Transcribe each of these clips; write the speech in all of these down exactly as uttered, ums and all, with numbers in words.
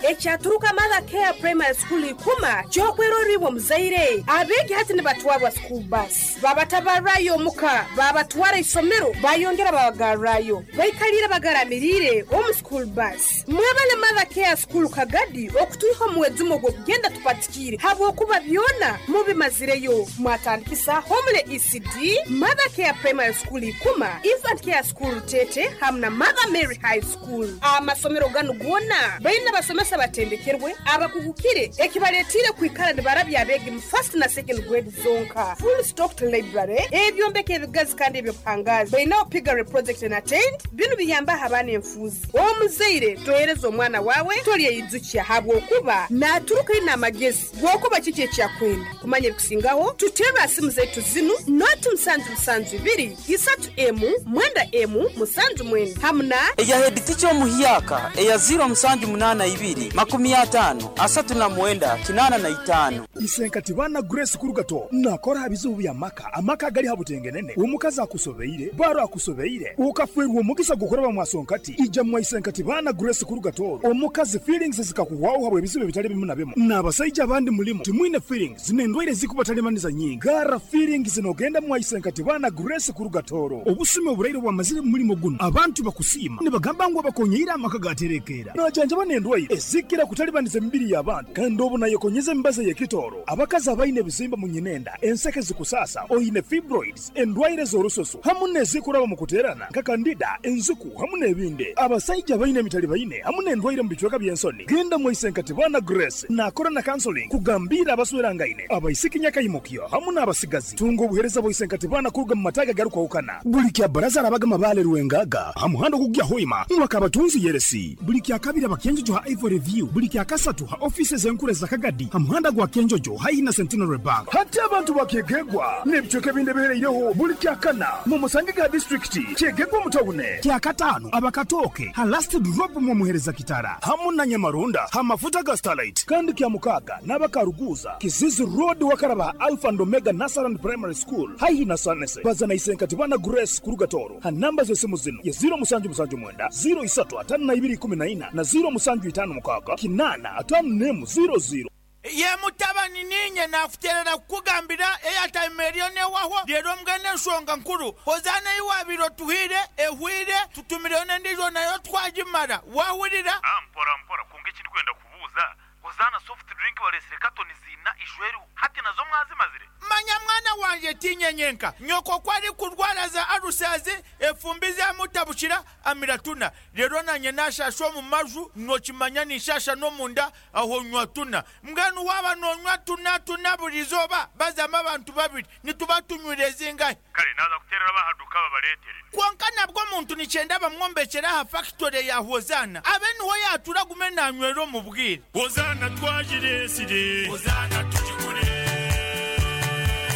Ekyaturuka Mother Care Primary School ikuma kyokweroribwa muzaire. Abeegi hati nibatwarwa school bus. Babatabarayo omuka, babatwara isomero, bayongera babagarrayo. Baikalire bagaramirire omu school bus. Mwebale Mother Care School Kagadi okutuiha omuwezumo gw'okugenda tupatikire habwokuba byona mubimazireyo. Mwatandikisa Homele E C D, Mother Care Primary School ikuma, Infant Care School Tete hamwe na Mother Mary High School. Amasomero ganu gona baina basomesa batendekerwe abakugukire ekibaletire kwikara nibarabya abegi mu first na second grade zonka. Full stocked library, ebyombeko ebigazi kandi ebyobuhangazi. Baina Piggery project and attend binu biyamba abaana enfuzi. Omuzaire tohereza omwana wawe tolyeyizukia habwokuba naturuka ina amagezi gwokuba kiki ekyakwenda. Kumanya ebikusingaho tutera simu zetu zinu noti musanju musanju ibiri isatu emu mwenda emu musanju mwenda hamuna eya head teacher omuhyaka eya zero musanju munana ibiri makumi atano asatu na mwenda kinana na itano. Isenkati bana Grace Kurugato nakora bizibu bya maka amaka gali habutengenene omukazi akusobeire baro akusobeire ukafwerwa omugisa gukora mwasonkati ija mwa Isenkati bana Grace Kurugato omukazi feelings zikakuwaho habwe bizibu bitali bimu na bimu n'abasajja abandi mulimu timwine feelings zinendwaire zikubatalemaniza nyingi gara feelings zinogenda mwa Isenkati bana Grace Kurugatoro obusime oburaire bwamazire mulimo guno abantu bakusima nibagamba ngo bakonyeira amaka gaterekera najanja banendwaire ezikira kutalibaniza emibiri y'abantu kandi obu nayekonyeza embaza y'ekitoro abakazi abaine ebizimba mu nyinenda enseke zikusasa oine fibroids endwaire z'orusoso hamu n'ezikuraba mu kuterana nka kandida enzuku hamu n'ebindi abasajja baine emitali baine hamu n'endwaire mu bicweka by'ensoni genda mu Isenkati bana Grace nakora na counseling kugambira abaswerangaine abaisiki nyakayimukyo hamu n'abasigazi tunga obuhereza bwa Isenkati bana kuruga mu mataga garukwahukana buli kya baraza arabaga mabale ruwengaga hamuhando kugya hoima mwaka abatunzi yeresi buli kya kabiri abakenjojo ha Ivory View buli kya kasatu ha offices enkure za Kagadi hamuhanda gwa Kenjojo haina Centenary Bank hati abantu bakegegwa n'ebicweka binde bihereireho buli kya kana mu musange ga district kyegegwa mutawune kya katano abakatoke ha last drop mu muhereza kitara hamu na Nyamarunda ha mafuta ga Starlight kandi kya mukaga n'abakaruguza Kizizi Road wakaraba Alpha and Omega Nasaran Primary School haihi na Sanese bazana Isenkati bana Grace Kurugatoro ha namba z'esimu zino ya zero musanju musanju mwenda zero isatu atano na ibiri kumi na ina na zero musanju itano mukaga kinana atano nemu zero zero. Ye mutabani ninye nakuterera kukugambira eyatime eriyo newaho rero mbwene ensonga nkuru hozana iwabiro tuhire ehwire tutumireyo n'endijo nayo twagimara wahurira. Ah, mpora mpora kunga ekindi kwenda kubuuza hozana soft drink balesire katoni zina ishweru hati nazo mwazimazire. Manya mwana wanje tinyenyenka nyoko kwari kurwara za arusazi efumbi zamutabukira amiratuna rero nanye nashasha mu maju nokimanya nishasha no munda aho nywa tuna mbwenu waba nonywa tuna tuna burizoba bazama abantu babiri nituba tunywire zingahe. Kale naza kuterera bahaduka babaletere konka nabwo muntu nicyenda bamwombekera ha factory ya Hozana abe niho yatura gume nanywero mu bwire. Hozana twajiresire Hozana tujikure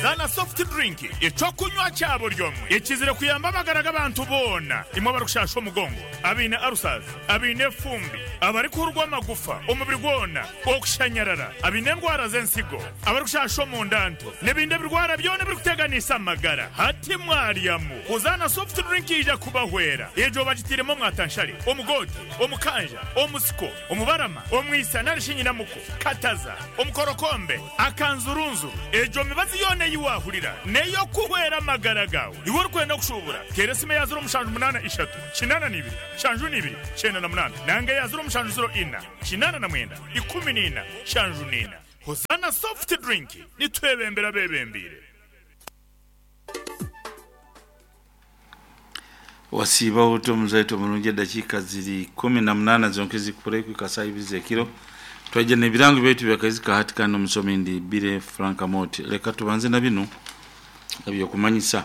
Zana soft drink ecokunywa cyabo ryomwe ekizire kuyamba amagara abantu bona imwe barukushasha omugongo abine arusaza abine fumbi abari kurwa amagufa omubiri gwona okushanyarara abine ndwara z'ensigo abari kushasha omundanto n'ebindi birwara byona birikuteganisa amagara hati mwaryamu Hozana soft drink ija kubahwera ejo bagitiremo mwatanshari omugote omukanja omusiko omubarama omwisa narishinyinamuko kataza omukorokombe akanzurunzuru ejo mibazi yone yiwahurira neyo kuhwera amagara gawe iwe urikwenda kushubura teresime ya zero mushanju munana ishatu kinana nibiri shanju nibiri cyenda na munana nange ya zero mushanju zero ina kinana na mwenda ikumi nina shanju nina. Hozana soft drink nitwebembera bebembire. Wasiba uto mzaito mulungi dakika ziri kumi na munana zonkezi kureku kasai bizekiro twaje ne birango byetu byakazika hatika no musomi ndi Bire Frank Amoti. Leka tubanze na bino ebyo kumanyisa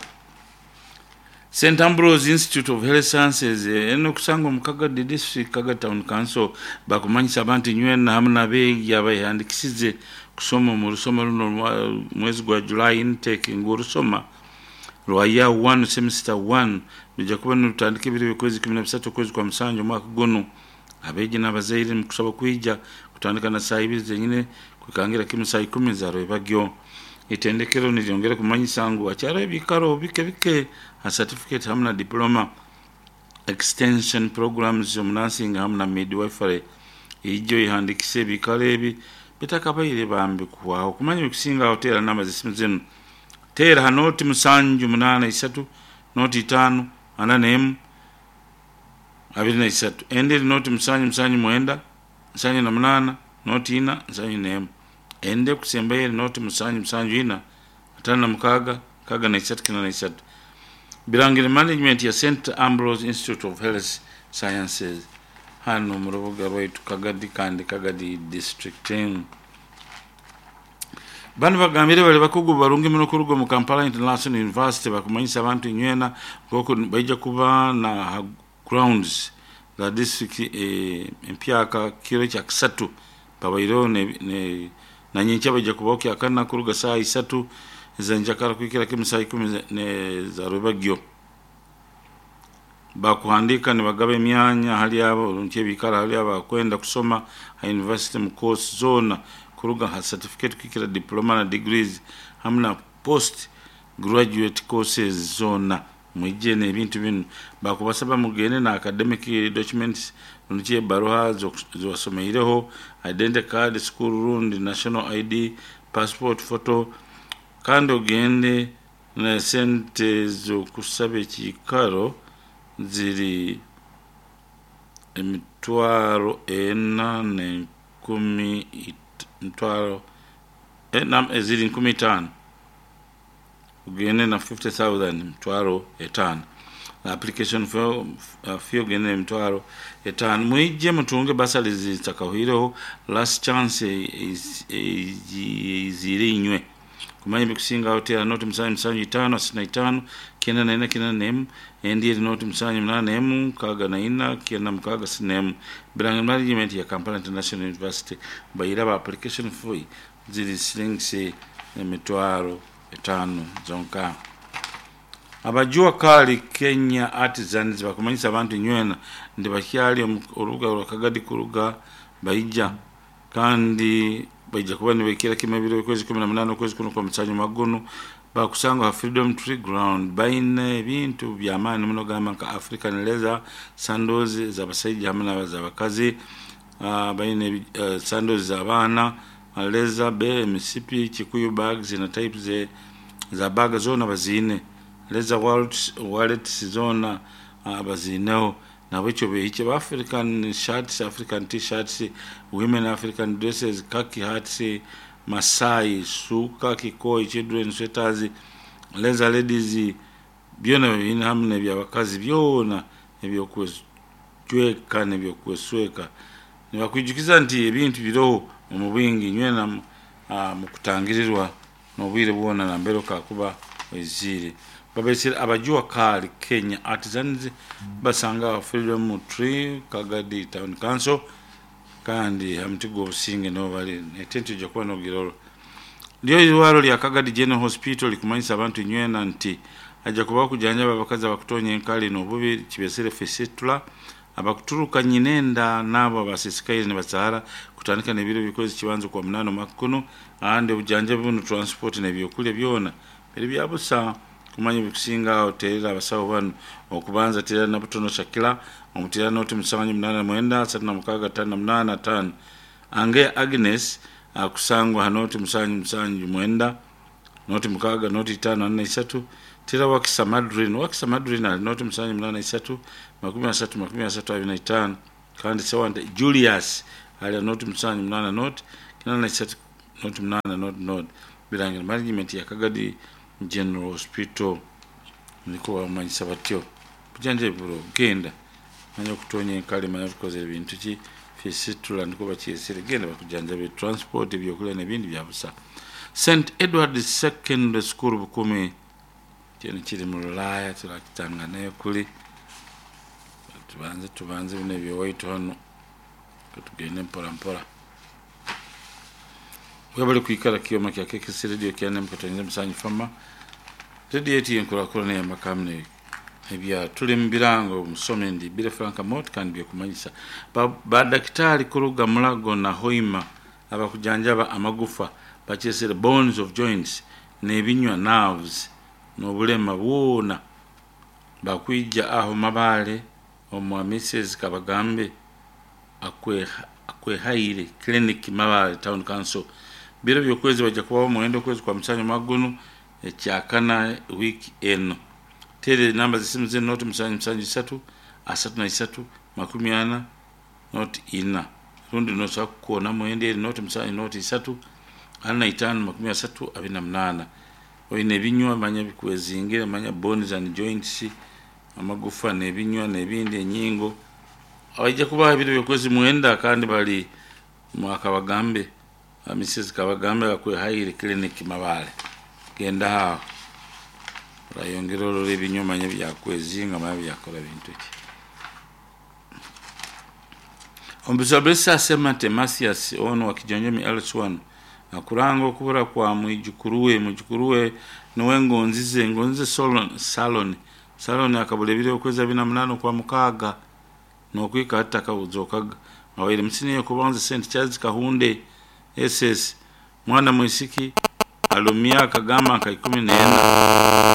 Saint Ambrose Institute of Health Sciences eno kusanga mu Kagadi District Kaga Town Council bakumanyisa abantu nywena hamwe n'abeegi abahandikisize kusoma mu rusoma runo mwezi gwa July intake ngurusoma lwa year one semester one bijja kuba nutandika ebiro by'okwezi kumi na bisatu kwezi kwa musanju mwaka guno abeegi n'abazaire mu kusaba kwija kutandika na saa ibiri zenyine kwikangira kimu saa ikumi za rwebagyo. Itendekero nilyongera kumanyisa ngu akyaro ebikaro bike bike ha certificate hamwe na diploma extension programs mu nursing hamwe na midwifery Ijo ihandikise ebikalo ebi bitakabaire bambi kuhwaho. Kumanya ebikusinga aho teera namba z'esimu zinu. Teera ha noti musanju munaana isatu noti itaano ana n'emu abiri na isatu. Endi eri noti musanju musanju mwenda nsanju na munaana noti ina nsanju n'emu. Endi ekusembayo eri noti musanju musanju ina ataano na mukaaga nkaaga na isatu kinaana na isatu. Birangire management ya Saint Ambrose Institute of Health Sciences hano mu rubuga rwaitu Kagadi kandi Kagadi district. Bano bagambire bali bakugu barungi muno kuruga mu Kampala International University bakumanyisa abantu inywena nk'oku baija kuba na grounds za district eh, empyaka kiro kya kisatu babaireho ne, ne, na nyenkya baija kubaho kyakana kuruga saa isatu ez'enjakara kuhikira kimu saa ikumi ne za rwebagyo. Bakuhandika nibagaba emyanya hali abo runki ebikara hali abo abakwenda kusoma ha university mu course zona kuruga ha certificate kuhikira diploma na degrees hamu na post graduate courses zona. Mwije n'ebintu binu bakubasaba mugende na academic documents runki ebaruha ziwasomeireho, identity card, school rundi national I D, passport photo, kandi ogende na sente z'okusaba ekiikaro ziri emitwaro ena n'enkumi mitwaro ena ziri nkumi itaano ogende na fifty thousand mitwaro etaano. Application fee ogende emitwaro etaano. Mwije mutunge basari zitakahuireho last chance ezire inywe. Kumanya ebikusinga aho teera noti musanju musanju itaano asatu na itaano kenda na ina kenda na emu. Endi eri noti musanju munaana emu nkaaga na ina kenda mukaaga asatu na emu. Birangire management ya Kampala International University bayiraba application fee ziri silingi emitwaro etaano zonka. Abajua kali Kenya Artisans bakumanyisa abantu inywena ndi bakyali orubuga rwa Kagadi kuruga baija kandi baija kuba nibekera kimwe ebiro okwezi kumi na munaana okwezi kuno kwa musanju magono bakusanga ha Freedom Tree Ground. Baine ebintu by'amaani muno gamba nka African leather sandals z'abasajja hamwe n'abakazi, uh, baine uh, sandals z'abaana, leather be emisipi, kikuyu bags na types za bag zona baziine, leather wallets, wallets zona uh, baziineho. Nabwekyo behiche ba African shirts, African t-shirts, women African dresses, khaki hats, Masai, suka, kikoi, children sweaters, leather ladies, byona bina hamwe n'ebyabakazi byona ebyokwejweka n'ebyokwesweka. Nibakwijukiza nti ebintu biroho omu bwingi nywena uh, mu kutangirirwa n'obwire bwona nambere okakuba oizire. Babesire abajua kali Kenya Artisans basanga Freedom Tree Kagadi Town Council kandi hamtigo obusinge no bali etenti ojja kuba n'ogiroro. Lyo irwaro lya Kagadi General Hospital likumanyisa abantu nywena nti ajja kuba kujanjaba abakazi abakutonya enkali n'obubi kibesere fistula abakuturuka nyinenda nabo abasisikaire ne basahara kutandika n'ebiro bikozi kibanzo kwa munano makuno ande obujanjabi buno transport n'ebyokulya byona biri byabusa. Kumanya ebikusinga aho teerera abasawo bano okubanza teerera na butono Shakila omuteera noti musanju munaana mwenda asatu na mukaaga ttaano na munaana ttaano. Ange Agnes akusangwa ha noti musanju musanju mwenda noti mukaaga noti ttaano ana isatu. Teera Wakisa Madrine, Wakisa Madrine ali noti musanju munaana isatu makumi asatu makumi asatu abiri na itaano. Kandi Sewante Julius ali noti musanju munaana noti kinaana na isatu noti munaana noti noti. Birangire management ya Kagadi General Hospital niko bamanyisa batyo. Bujanjabi bulo genda manya okutonya enkali manya tukoze ebintu ki fisitula niko bakyesere genda bakujanjabe transport ebyokulya n'ebindi byabusa. Saint Edward Secondary School Bukumi kyeno kiri mu Lulaaya turakitanga nayo kuli tubanze tubanze bino ebyowaitu hano tugende mpora mpora. Webale kuikara kioma kya K K C Radio kya N M katonyeza musanyu fama Radio yetu yenkulakulana y'amakamne ebya tuli mu birango musome ndi Bire Frank Mot kandi byekumanyisa ba daktari kuruga Mulago na Hoima abakujanjaba amagufa bakyesere bones of joints n'ebinywa nerves n'obulema bwona bakwija aho mabale omwa Missus Kabagambe akwe Kwehaire Clinic, Mabale Town Council. Biro byokwezi bajja kubaho muwendo okwezi kwa musanju mwagunu ekyakana wiiki eno. Tere namba z'essimu ze noti musanju musanju isatu asatu na isatu makumi ana noti ina, rundi nosobola kukoona mwenda eri noti musanju noti isatu ana na itaano makumi asatu abiri na munaana. Oine ebinywa manya bikwezingire, manya bones and joints, amagufa n'ebinywa n'ebindi, enyingo. Abaija kubaha ebiro byokwezi mwenda kandi bali mwakabagambe Missus Kabagambe Akwehaire Clinic, Mabale. Genda aho orayongera orora ebinywa manya byakwezinga, manya byakora bintu ki. Ombuzablesa asema nti Mathias ono wa Kijonjomi L one akuranga okubura kwa mwijukuru we, mwijukuru we niwe Ngonzize Ngonzize Solon Salon Salon, akabula ebiro okwezi abiri na munaana okwa mukaaga nokwika hati takabuzokaga. Awaire musiniya kubanza Saint Charles Kahunde S S, mwana mwisiki alumya akagamba nka ikumi n'ena.